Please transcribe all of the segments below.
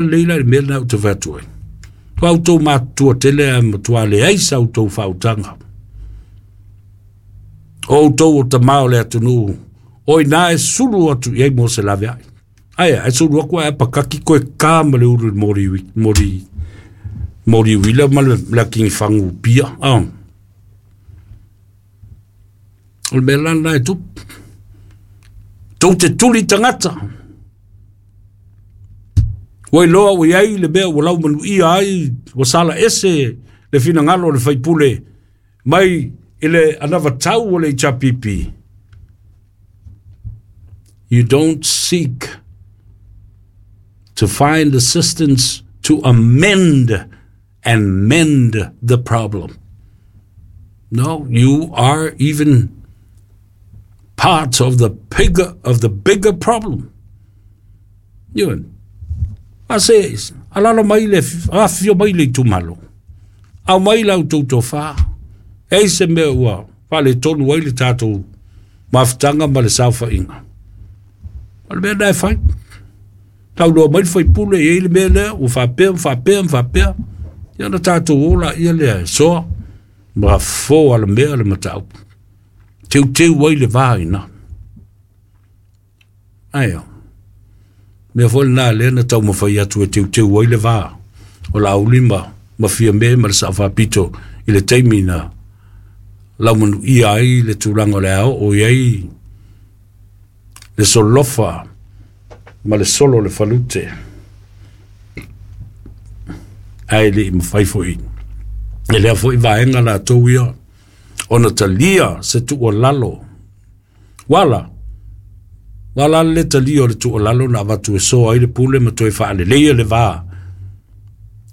Lelei la i le mea lena ou te fai atu ai. Ua outou matutua tele ae matua leai sa outou faautaga. O outou o tama o le atunuu, o ina e sulu atu i ai mo se laveai. Ae a, e sulu atu ae apakaki koe ka ma le ulu i le moli, moli, moli uila ma le laki fagu pia. Oh. O le mea la lena e tupu. Tou te tuli tagata. Ua iloa ua i ai le mea ua laumanuia ai, ua sala ese le finagalo o le faipule mai i le anavatau o le HRPP. You don't seek to find assistance to amend and mend the problem. No, you are even part of the bigger of the bigger problem. Ioe. A se alala mai le afio mai le itumalo. Au mai la outou tofa. E se mea ua faaletonu ai le tatou mafutaga ma le saofaiga. O le mea lena e fai. Tauloa mai le faipule e i ai le mea lea ua faapea ma faapea ma faapea. Ia ona tatou o laia lea e soa ma fofo alamea le mataupu. Teuteu ai le va i ina. Ae o. Mea foi lena lea na taumafai atu e teuteu ai le va o Laauli ma Fiame ma le Sao Faapito i le taimi na laumanuia ai le tulaga o le a oo i ai le solofa ma le solo o le falute. Ae le i mafai foi e lea foi vaega latou ia ona talia se tuualalo. Wala, wala le talia o le tuualalo na avatu e soa ai le pule ma toe faaleleia le va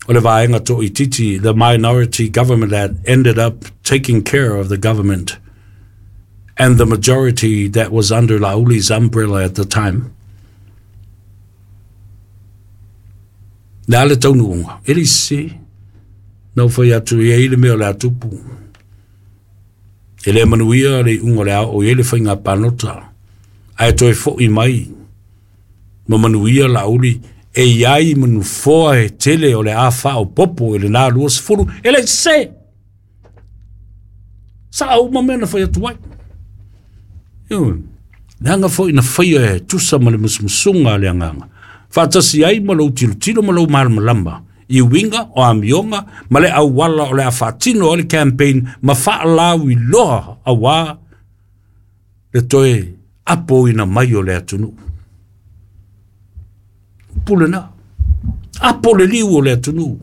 o le vaega toaitiiti, the minority government that ended up taking care of the government and the majority that was under Lauli's umbrella at the time. Le a le taunuuga, e le sese. Na ou fai atu i ai le mea o le a tupu. E le manuia le iuga o le a oo i ai le faiga palota. Ae toe foi mai ma manuia Laauli e i ai ma nofoa e tele o le a faaopoopo i lena 20, e le sese. Sao uma mea na fai atu ai. Ioe. Leaga foi na faia e tusa ma le musumusuga a le agaga. Faatasi ai ma lou tilotilo ma lou malamalama i uiga o amioga ma le auala o le a faatino ai le campaign ma faalauiloa auā le toe apoina mai o le atunuu. Upu lena. Apo le liu o le atunuu.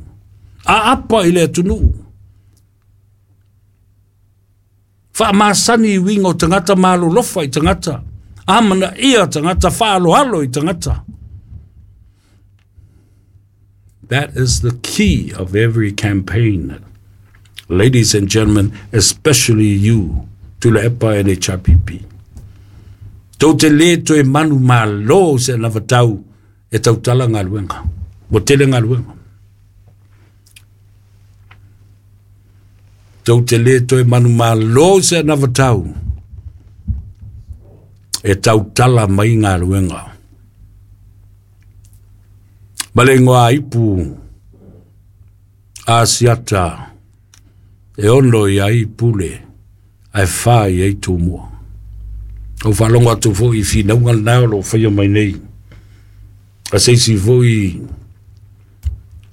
Aapa i le atunuu. Faamasani i uiga o tagata, malolofa i tagata, amanaia tagata, faaaloalo i tagata. That is the key of every campaign. Ladies and gentlemen, especially you, Tuilaepa and HRPP. Tou te le toe manu malo se anavatau e tautala galuega. Ua tele galuega. Tou te le toe manumalo se anavatau e tautala mai galuega. Ma le igoa ipu Asiata e 6 i ai pule ae 4 i ai tumua. Ou faalogo atu foi i finauga lena o lo o faia mai nei. A se isi foi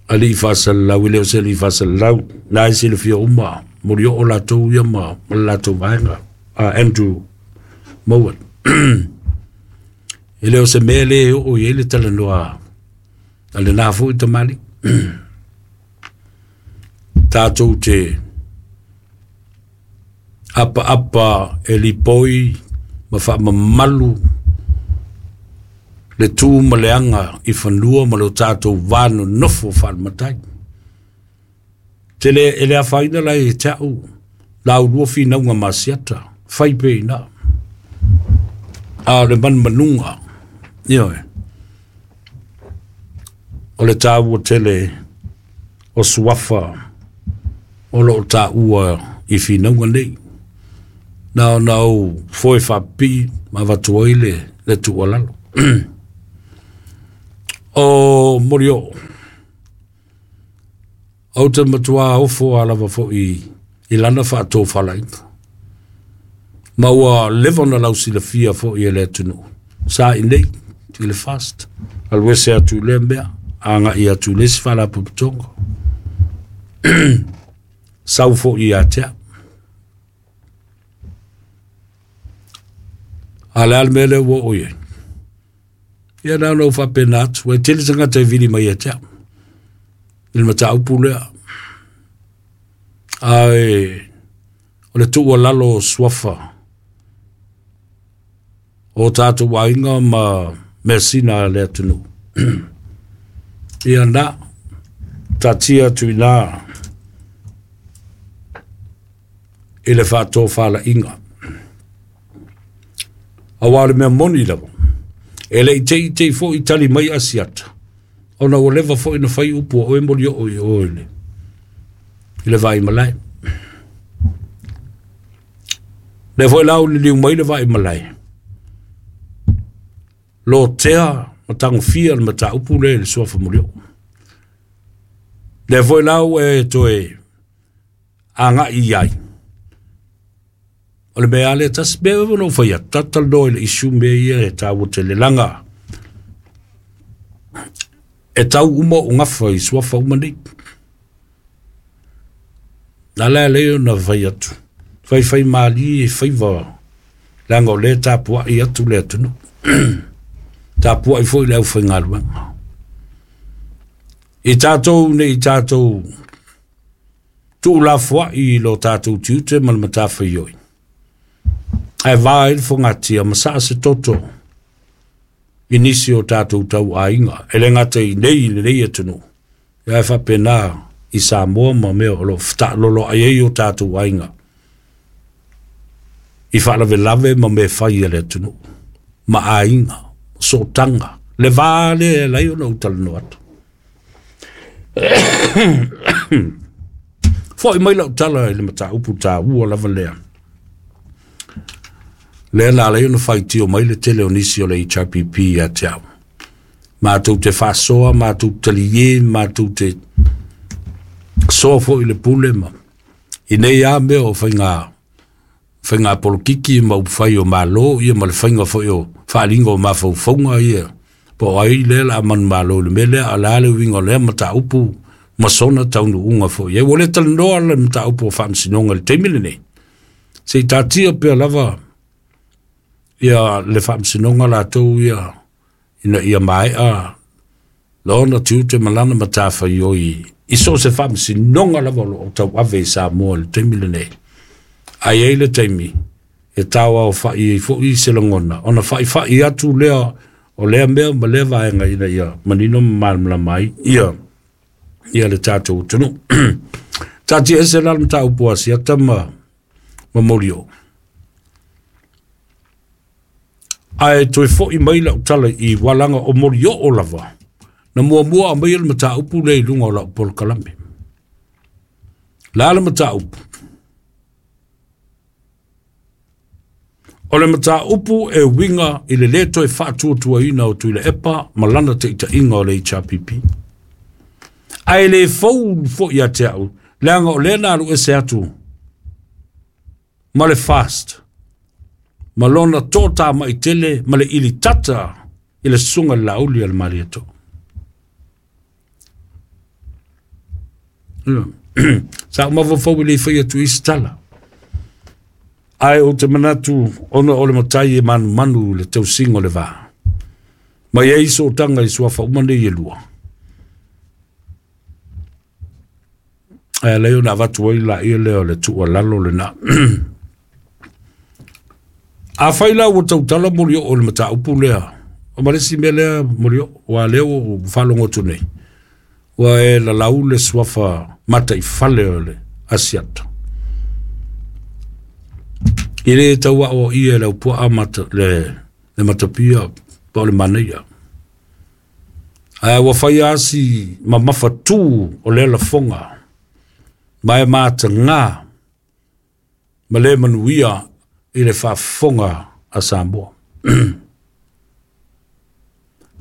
alii faasalalau, e le o se alii faasalalau, na e silafia uma, molioo latou ia ma le latou vaega, a Andrew Mowat. E le o se mea le oo i ai le talanoa a lena foi tamalii. Tatou te apaapa e lipoi ma faamamalu le tu ma le aga i fanua ma lo tatou va nonofo faale-matai. Tele e le afaina la e te au la ulua finauga ma Asiata, fai pe ina. A o le manumanuga, ioe, o le taua tele o suafa o lo o taua i finauga nei. Na ona ou foe faapipii ma avatu ai le tuualalo. O Molioo, ou te matua ofo a lava fo'i i lana faatofalaiga. Ma ua leva ona lausilafia fo'i e le atunuu. Sa i nei i le FAST, alu ese atu i lea mea, agai atu i le isi faalapotopotoga. Sau foi ia te au. A o le a le mea lea ua oo i ai? Ia na ona ou faapena atu, ua tele tagata e vili mai ia te au i le mataupu lea. Ae o le tuualalo o suafa o tatou aiga ma measina a le atunuu. Ia na, taatia atu i ina i le faatofalaiga. Aua o le mea moni lava, e le i teitei foi tali mai Asiata, ona ua leva foi na fai upu o oe Molioo i o i le Vaimalae. Lea foi la ua liliu mai le Vaimalae, lotea ma tagofia le mataupu lea i le suafa Molioo. Lea foi la ua e toe agai i ai, o le mea lava lea tasi, mea ona ou fai atu, tatou talanoa i le issue mea ia e taua tele, leaga e tau uma ou gafa i suafa uma nei. Na ala lea ona fai atu, faifai malie faiva, leaga o lea e tapuai atu le atunuu, tapuai foi le aufaigaluega. I tatou nei tatou tuulafoai i lo tatou tiute ma le matafaioi, ae va ai le fogatia ma saa se toto i nisi o tatou tauaiga, e le gata i nei i lenei atunuu, ae faapena i Samoa ma mea o lo o fetaaloloai ai o tatou aiga i faalavelave ma mea fai a le atunuu, ma aiga, sootaga, le va lea e ala ai ona ou talanoa atu. Foi mai lau tala i le mataupu taua lava lea. Lea na ala ai ona faitio mai le tele o nisi o le HRPP ia te au. Matou te faasoa, matou te talie, matou te soa foi le pule ma i nei lava mea o faiga polokiki ma upufai o Malo ia ma le faiga foi o faaaliga o mafaufauga ia. Po o ai lea la manumalo i le mea lea, a o le a le uiga o lea mataupu ma sona taunuuga foi. Ua le talanoa le mataupu o faamasinoga i le taimi lenei. Se i taatia pea lava ia le faamasinoga latou ia ina ia maea lona tiute ma lana matafaioi i so o se faamasinoga lava o lo o tauave i Samoa i le taimi lenei. Ae i ai le taimi e tauaofai ai foi se lagona, ona faifai atu lea o lea mea ma lea vaega ina ia manino ma malamalama ai ia le tatou atunuu. Taatia ese la le mataupu a Asiata ma Molioo. Ae toe foi mai lau tala i walaga o Molioo lava, na muamua aumaia le mataupu lea i luga o lau polokalame. La le mataupu. O le mataupu e uiga i le lē toe faatuatuaina o Tuilaepa ma lana taitaiga o le HRPP. Ae le fou foi ia te au, leaga o lea na alu ese atu ma le FAST, ma lona totamai tele ma le ilitata i le susuga i le Laauli a le Malietoa. Sa ou mafaufau e le i fai atu i se tala. Ae ou te manatu ona o le matai e manumanu i le tausiga o le va. Ma i ai sootaga i suafa uma nei e lua. Ae ala ai ona avatu ai laia lea o le tuualalo lena. Afai la ua tautala Molioo i le mataupu lea, o ma le isi mea lea Molioo, ua lea ua ou faalogo atu nei, ua e lalau le suafa mataifale o le Asiata. I le tau aoaia e le aupuaa le matapia po o le manaia. Ae ua fai asi mamafa tu o lea lafoga, ma e mataga ma le manuia i le faafofoga a Samoa.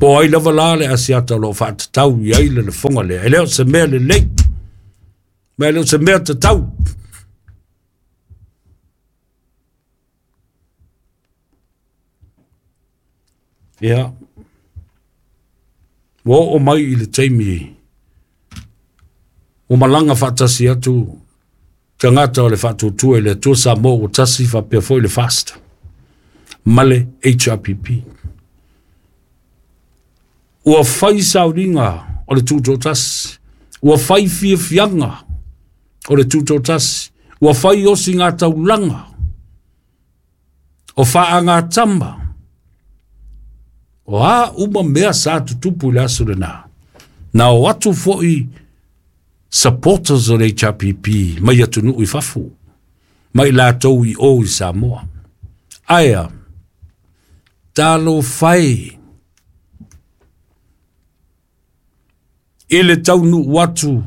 Po ai lava la le asiata o loo faatatau i ai le lafoga lea. E le o se mea lelei, ma e le o se mea tatau. Ia, ua oo mai i le taimi ua malaga faatasi atu tagata o le Faatuatua i le Atua Samoa ua tasi faapea foi le FAST ma le HRPP. Ua fai sauniga o le Tutoatasi, ua fai fiafiaga o le Tutoatasi, ua fai osigataulaga o faagatama, o a uma mea sa tutupu i le aso lena. Na o atu foi supporters o le HRPP mai atunuu i fafo, mai latou i o i Samoa. Ae a, talofa e i le taunuu atu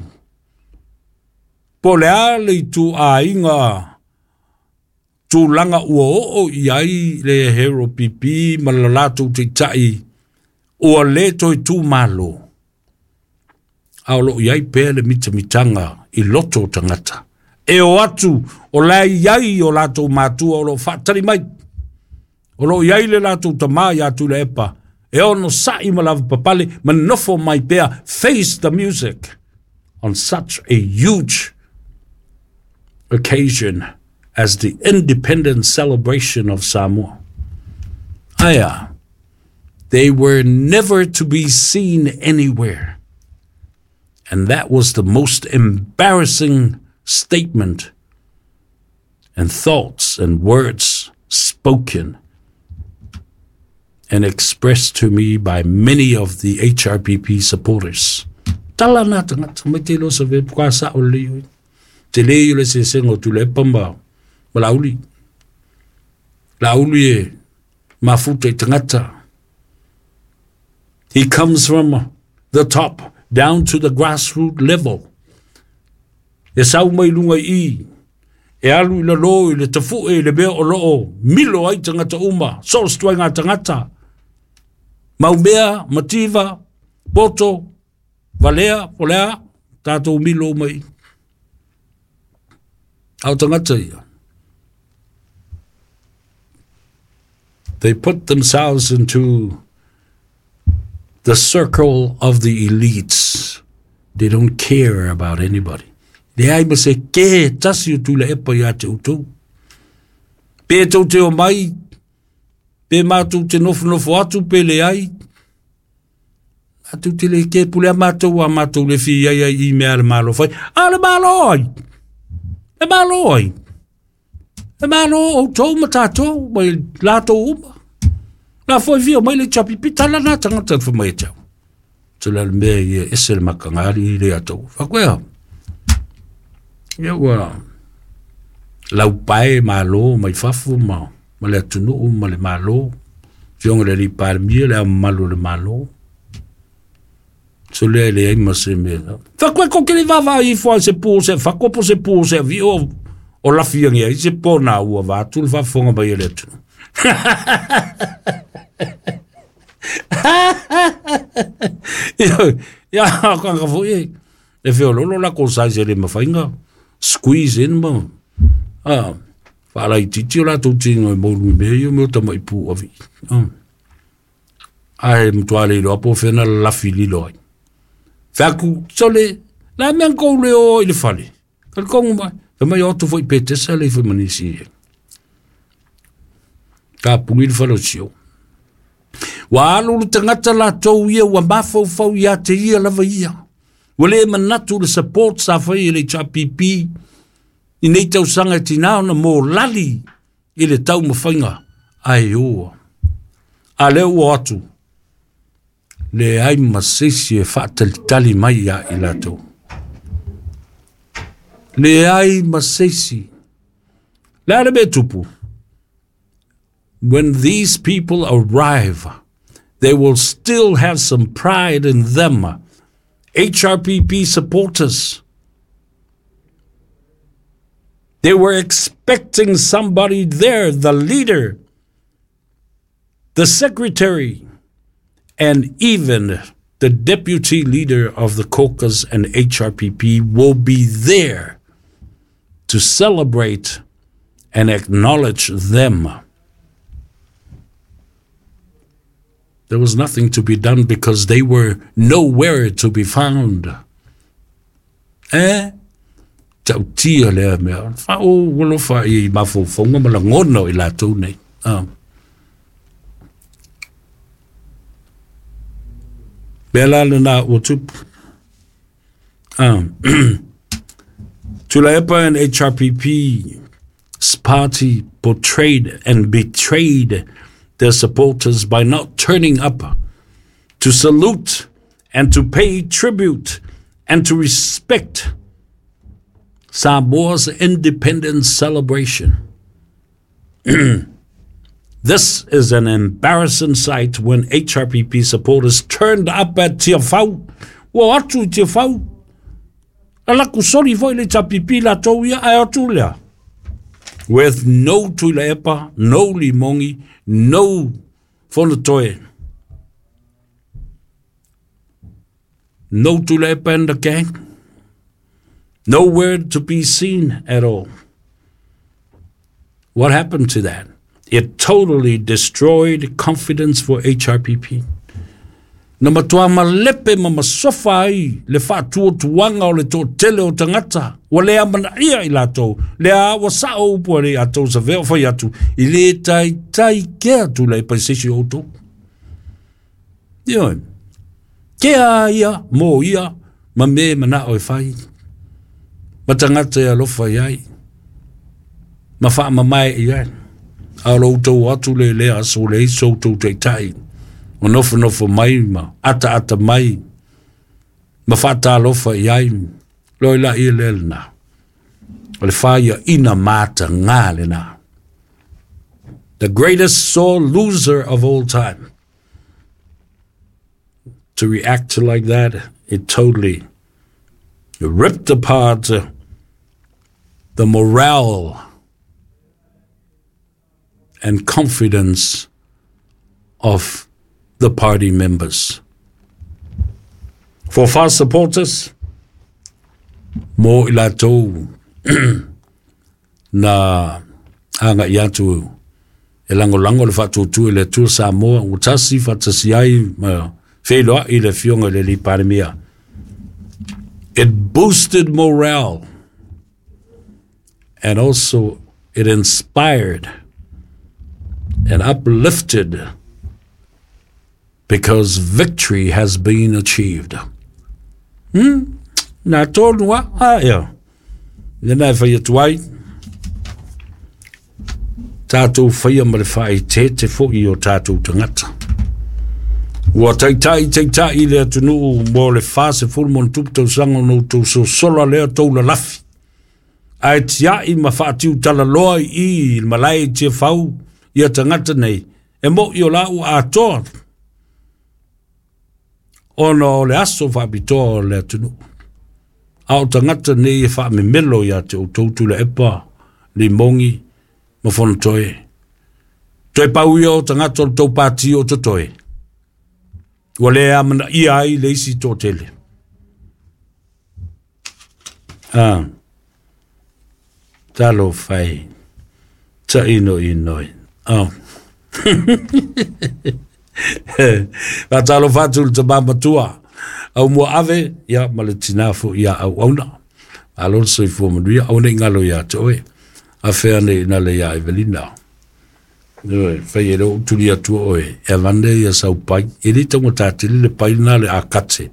po o le a le ituaiga tulaga ua oo i ai le HRPP ma le latou taitai ua le toe tumalo, a o loo i ai pea le mitamitaga i loto o tagata. E o atu o la e i ai o latou matua o loo faatali mai, o loo i ai le latou tamā ia Tuilaepa e ono sa'i ma lavapapale ma nofo mai pea, face the music on such a huge occasion as the independence celebration of Samoa. Ae they were never to be seen anywhere. And that was the most embarrassing statement and thoughts and words spoken and expressed to me by many of the HRPP supporters. Tala na tagata mai te lo sa ve ka sa o le oi. Te le i le se sengo tu le pamba ma lauli. Lauli e mafuta i tagata. He comes from the top down to the grassroots level. E sau mai lunga i e alu i lalo i le tafue i le mea o loo milo ai tagata uma, so o ngā tagata. Maumea, mativa, poto, valea, polea, tātou milo mai. Au tagata ia. They put themselves into the circle of the elites. They don't care about anybody. Le ai ma se ke tasi o Tuilaepa ia te outou. Pe tou te o mai, pe mātou te nofonofo atu, pe le ai. Atu te le ke pule a mātou a mātou le fi ai ai i mea le malo fai. A le malo ai! Le malo ai! Le malo outou ma tātou, mai lātou uma. La foi vio mai le chapi pita la nā tangata fa mai tau. Te le mea ia ese le makangari i le atou. Whakoea. Ia ua lau pae malo mai fafo ma le atunuu ma le malo. Fionga le palemia le au mamalu o le malo. So lea le ai ma se mea. Whakoe ko kere vava i fua se pō se whako po se pō se vi o o lafi angi ai se pō nā ua vātu le whafonga mai e le atunuu. Ia, ka ka foi e feololo la ko sai se le mawhainga squeeze in ma ah whaala i titi o la tau tinga e mauru i mea ia mea o tamai pū avi. Ai mtua le iloa po whena lafi lilo ai. Whaku, sole, la mea kou le o i le fale. Ka le kongu mai, fa mai o tu foi petesa le foi manisi e. Ka pungi le fale o sio. Wa alu le tagata latou ia ua mafaufau ia te ia lava ia. Ua le manatu le support sa fai e le HRPP i nei tausaga e tinā ona mo lali i le taumafaiga ae oa. A lea ua atu, leai ma se isi e faatalitali mai ia i latou. Leai ma se isi. Le a le mea tupu? When these people arrive, they will still have some pride in them. HRPP supporters. They were expecting somebody there, the leader, the secretary, And even the deputy leader of the caucus and HRPP will be there to celebrate and acknowledge them. There was nothing to be done because they were nowhere to be found. Eh? Tautia lea mea. Fa o walofa i mafofonga ma lagona o i latou nei. Mea la lena ua tupu. Tuilaepa and HRPP's party portrayed and betrayed their supporters by not turning up to salute and to pay tribute and to respect Samoa's independence celebration. This is an embarrassing sight when HRPP supporters turned up at Tiafau. Ua atu i Tiafau. Ala ku sori foi le HRPP la tau ia ai atu lea. With no Tuilaepa, no Limongi, no Fonotoe. No Tuilaepa and the gang. Nowhere to be seen at all. What happened to that? It totally destroyed confidence for HRPP. Na matua malepe ma masofa ai le faatuatuaga o le toatele o tagata ua le amanaia i latou lea ua sao upu a le atou savea o fai atu i le taitai kea Tuilaepa i se isi o outou. Ioe. Kea ia mo ia ma me manao e fai ma tagata e alofa i ai ma faamamae i ai. A o lo outou atu le lea aso le iso outou taitai o nofonofo mai ma ataata mai ma faatalofa i ai loi la ia lea lena. O le faiaina mataga lena. The greatest sore loser of all time. To react to like that, it totally ripped apart the morale and confidence of the party members. For fast supporters, mo i latou na aga'i atu e lagolago le faatuatua i le Atua Samoa ua tasi faatasi ai ma feiloai le Afioga i le Alii Palemia. It boosted morale and also it inspired and uplifted because victory has been achieved. Nā tonu a, a ea. Lena e whai atu ai, tātou whaia ma le whaitete fo i o tātou tangata. Ua taitai taitai le atunuu mo le 40 ma ona tupu tausaga ona outou sosola lea tou lalafi. Ae tiai ma faatiutalaloa i i i le malae i Tiafau ia tagata nei, e moʻi o la ua atoa ona o le aso faapitoa o le atunuu. A o tagata nei e faamemelo ia te outou Tuilaepa, Limogi ma Fonotoe. Toe pau ia o tagata o le tou pati o totoe. Ua le amanaia ai le isi toatele. Ah, talofa e, tainoinoi. Oh. Faatalofa atu i le tama matua, au mua ave, ia ma le tinā foi ia auauna. Malo le soifua manuia, aua ne i galo ia te oe. Afea nei ina le ia Evelina. Ioe, fai e le ou tuli atua oe, e avane ia sau pai. E le taugata tele le pai lena le akate.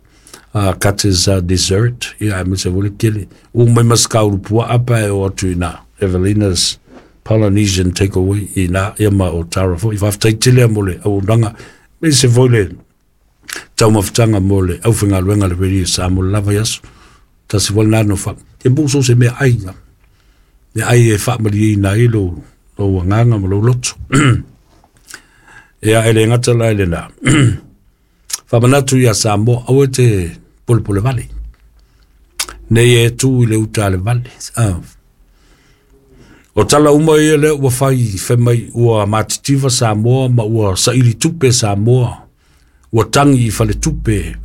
Akate is a dessert, ia aemaise foi le kele. Ua mai ma se kaulu puaa pa e o atu ina. Evelina's Polynesian Takeaway ina, ia ma o Tara foi. Faafetai tele mo le auaunaga. Aemaise foi le taumafataga mo le aufaigaluega a le Radio Samoa le lava i aso. Tasi foi lena no fa. E mo so se mea ai. Mea ai e faamalieina ai lou, lou agaga ma lou loto. Ia, e le gata la i lena. Faamanatu ia Samoa, aua e te polepole vale. Nei e tu i le uta a le vale. Ah. O tala uma ia lea ua fai, fai mai ua matitiva Samoa ma ua saili tupe Samoa. Ua tagi i faletupe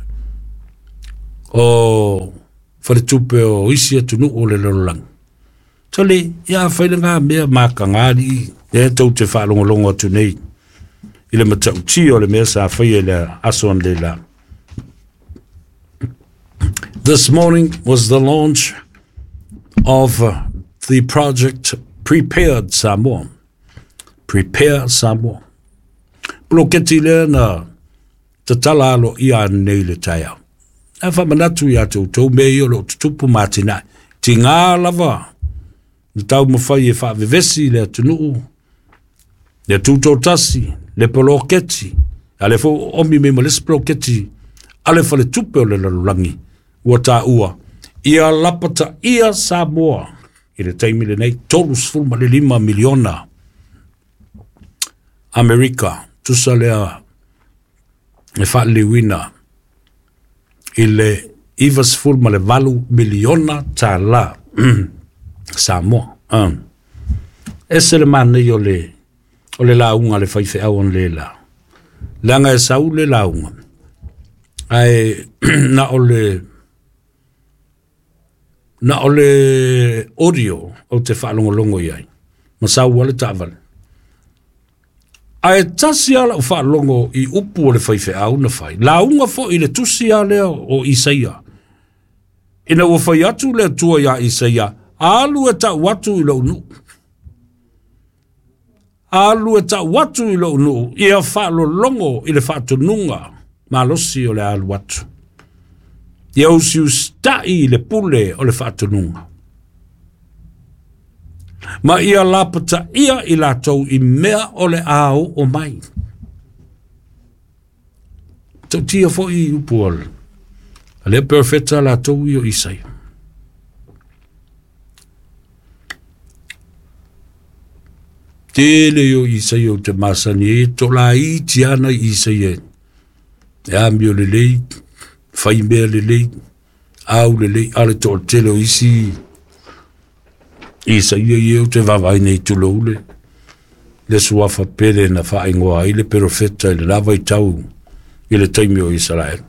o faletupe o isi atunuu o le lalolagi. Tole, ia fai lena mea mataga alii, lea tou te faalogologo atu nei i le matautia o le mea sa faia i le aso analeila. This morning was the launch of the project Prepared Samoa. Prepare Samoa. Poloketi lea na tatala aloaia ananei i le taeao. Ae faamanatu iā te outou mea ia o lo o tutupu ma atinae. Tiga lava na taumafai e faavevesi le atunuu, le tutoatasi, le poloketi, a lea foi ua oomi mai ma le isi poloketi a le Faletupe o le Lalolagi ua taua, ia lapataia Samoa i le taimi lenei $35 miliona Amerika, tusa lea e faaliliuina i le $98 miliona tala Samoa. Ese le manaia o le lauga a le faifeau analeila, leaga e sau le lauga, ae na o le audio ou te faalogologo i ai, ma sau ai le taavale. Ae tasi lava lau faalogo i upu o le faifeau na fai, lauga foi i le tusi lava lea o Isaia. Ina ua fai atu le Atua ia Isaia, alu e tau atu i lou nuu. Alu e tau atu i lou nuu, ia faalologo i le faatonuga malosi o le alu atu. Ia usiusitai i le pule o le faatonuga. Ma ia lapataia i latou i mea o le a oo mai. Tautia foi i upu o le perofeta latou i o Isaia. Tele o Isaia o te masani e to la iti ana i Isaia. E amio lelei, fai mea lelei, au lelei, ale to tele o isi Isaia i o te vavai nei tuloule. Le suafa pele na whaingoa ai le perofeta i le lava i tau i le taimi o Israel.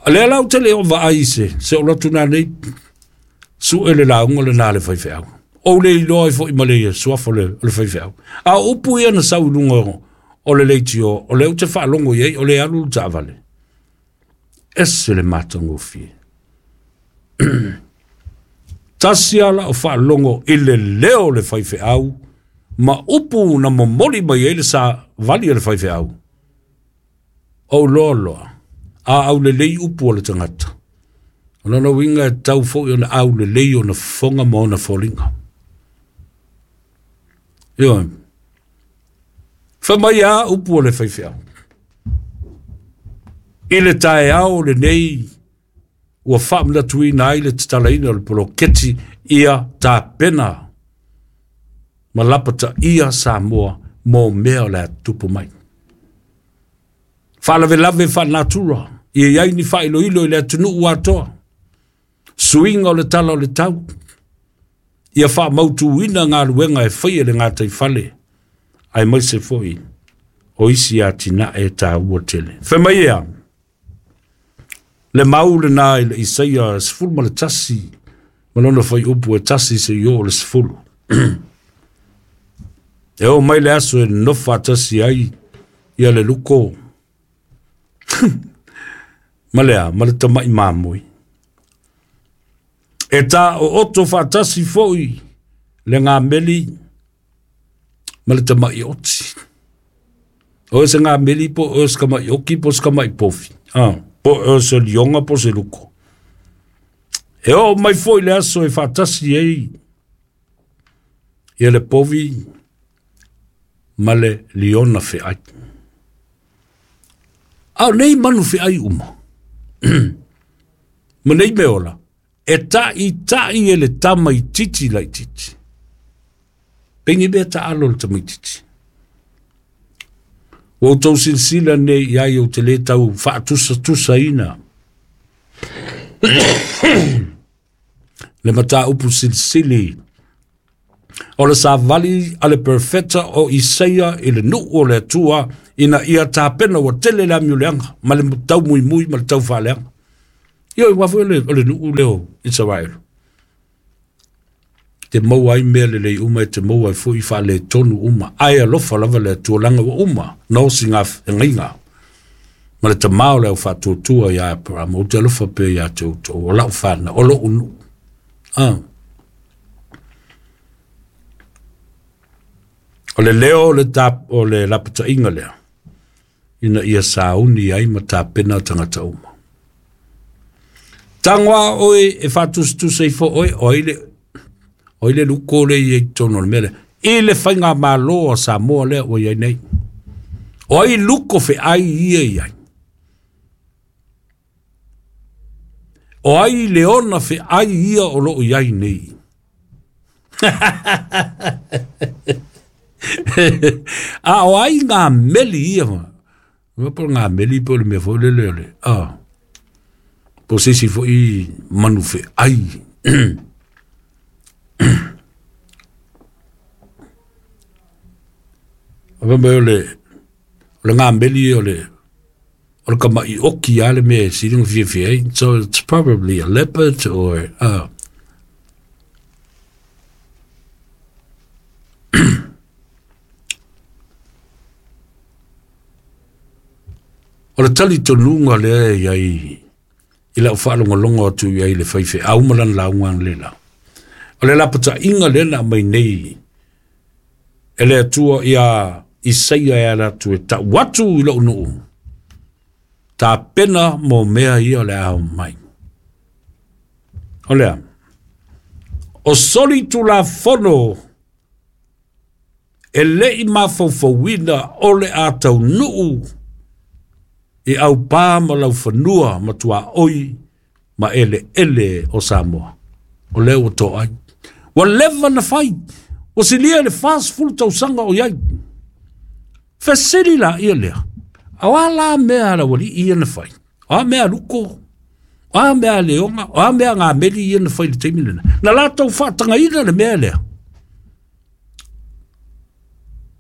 A lea lau te leo vaai se, se o lotu nā nei, su e le launga le nā le whaiwheau. O le iloa i fo i male ia suafa o le whaiwheau. A upu ia na sau lunga o le leitio, o le ute whaalongo iei, o le alu le taavale. Ese le matagofie. Tasi ala o whaalongo i le leo le whaiwheau, ma upu na momoli mai ai le sa vali o le faifeau. O loa loa, a au le lei upu o le tangata. O lona uiga e tau foi ona au le lei ona fofoga ma ona foliga. Ioe. Fai mai a upu o le faifeau. I le taeao lenei ua faamanatuina ai le tatalaina o le poloketi ia tapena ma lapataia Samoa mo mea o le a tupu mai. Faalavelave faalenatura, ia i ai ni faailoilo i le atunuu atoa, suiga o le tala o le tau, ia faamautuina galuega e faia le gataifale, aemaise foi o isi atinae e taua tele. Fai mai ea, le mau lena i le Isaia 11, ma lona faiupu e 1 seia oo i le 10. E oo mai le aso e nonofo faatasi ai ia le luko ma le a, ma le tamai mamoe. E tā ooto faatasi foi le ngameli ma le tamai oti. O e se ngameli po o se kamai oki po se kamai pofi. Po o se lionga po se luko. E oo mai foi le aso e faatasi ai ia le povi ma le liona feai. A o nei manu feai uma. Ma nei mea ola, e taʻitaʻi e le tamaititi laititi. Pei mea taalo le tamaititi. Ua outou silasila nei i ai ou te le tau faatusatusaina le mataupu silisili O le savali a le perofeta o Isaia i le nuu o le Atua ina ia tapena ua tele le amioleaga ma le taumuimui ma le taufaaleaga. Ioe, aua foi o le nuu lea o Isaraelu. Te maua ai mea lelei uma e te maua ai foi faaletonu uma, ae alofa lava le Atua leaga ua uma na osi gafeagaiga ma le tamā o le aufaatuatua ia Aperamo, ou te alofa pea ia te outou, o lau fanau, o lou nuu. O le leo o le lapataiga lea, ina ia sauni ai ma tapena tagata uma. Tago a oe e faatusatusa ifo oe, o ai le luko le i ai totonu o le mea lea, i le faigamalo a Samoa lea ua i ai nei. O ai luko feai ia i ai? O ai le ona feai ia o loo i ai nei? A o ai ngā meli ia ma? Ua po ngā meli po le mea foi lele o le, po se isi foi manu feai. O mai o le ngā meli o le kamai oki a le mea silinga fiafia ai. So it's probably a leopard or O le talitonuga lea e iai i lau faalogologo atu i ai le faifeau ma lana lauga analeila. O le lapataiga lea na aumai nei e le Atua ia Isaia e ala atu e tau atu i lou nuu, tapena mo mea ia o le a mai. O lea, o soli tulafono e lei mafaufauina o le a taunuu i aupā ma laufanua ma tuaoi ma eleele o Samoa. O lea ua toai. Ua leva na fai. Ua silia le 40 tausaga o iai. Fesili la ia lea. O a la mea la wali ia na fai. O a mea luko. O a mea leonga. O a mea ngā meli ia na fai le taimi lena. Na lātou whaatangaina le mea lea.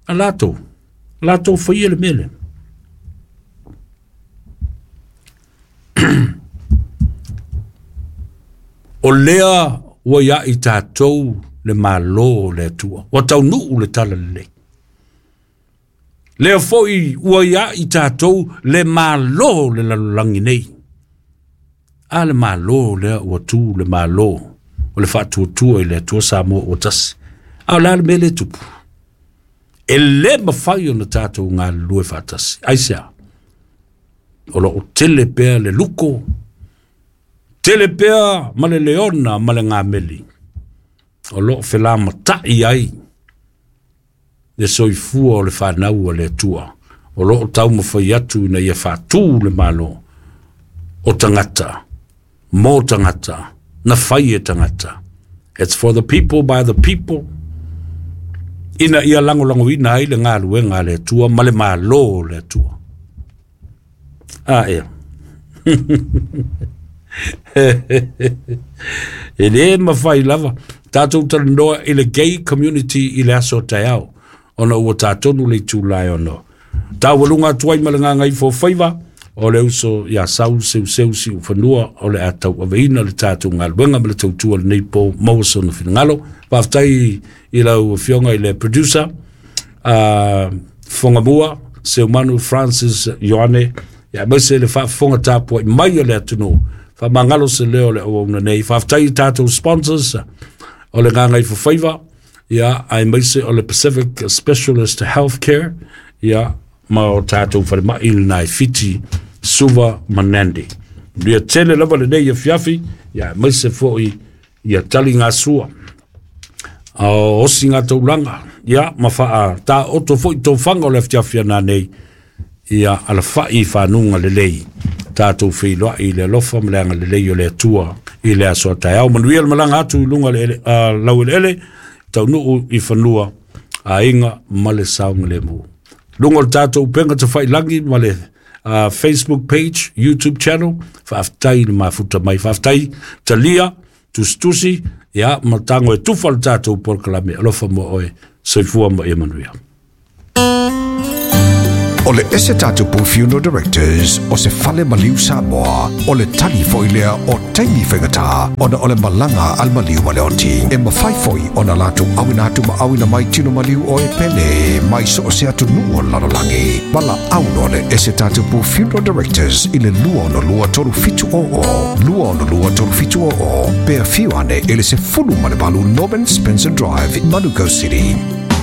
A lātou. Lātou whaia le mea lea. O lea ua ia i tātou le malo le Atua. Ua taunuu le tala lelei. Lea foi ua ia i tātou le malo le lalolagi nei. A le malo lea ua tu le malo o le faatuatua i le Atua Samoa ua tasi. A o le a le mea le tupu. E le mafai ona tātou galulue faatasi. Aisea? O loo tele pea le luko, tele pea ma le leona ma le ngameli. O loo felamatai ai le soifua o le whanau o le Atua. O loo taumafai atu ina ia faatū le malo o tangata, mo tangata, na whai e tangata. It's for the people, by the people. Ina ia langolango ina ai le ngaluenga le Atua ma le malo le Atua. A ea. E le mawhai lava. Tātou talanoa i le gay community i le aso taeao. Ona ua tātonu le tūlai ono. Tāwalunga atu ai ma le nganga ifo whaiva. O le uso ia sau seu seu si uwhanua. O le atau aveina le tātou ngaluenga ma le tautua le nei po maua sona finangalo. Whaftai i lau fionga i le producer. Whangamua, Seumanu Francis Ioane. Ia maise le whaafonga tāpua i mai o le atunu. Whamangalo se leo le oauna nei. Whaftai tātou sponsors o le nganga ifo whaiva. Ia ai maise o le Pacific Specialist Healthcare. Ia ma o tātou wharema i nai whiti Suva Manandi. Ria tele lava le nei fiafi. Ia maise foi ia tali ngā sua. O osi ngā taulanga. Ia ma whaa tā oto foi tō whanga o le fiafi nā nei. Ia ala whai whanunga le lei. Tātou whiloa i le alofa ma le anga le lei o le Atua i le aso taeao. Manuia le malanga atu i lunga le lau ele ele. Taunuu i whanua a inga ma le saunga le mu. Lunga o le tātou penga te whailangi ma le Facebook page, YouTube channel. Whaaftai le mafuta mai. Whaaftai talia, tustusi, Ia, ma tago e tufa le tatou polokalame. Alofa mo oe, soifua ma ia manuia. O le ese tatupu Funeral Directors o se fale maliu Samoa, o le tali foi lea o taimi faigata ona o le malaga a le maliu ma le oti. E mafai foi ona latou auina atu ma auina mai tino maliu o e pele mai so o se atunuu o le lalolagi. Valaau loa le ese tatupu Funeral Directors i le 262 3700, 262 3700, pe afio ane i le 18 Norman Spencer Drive, Manukau City.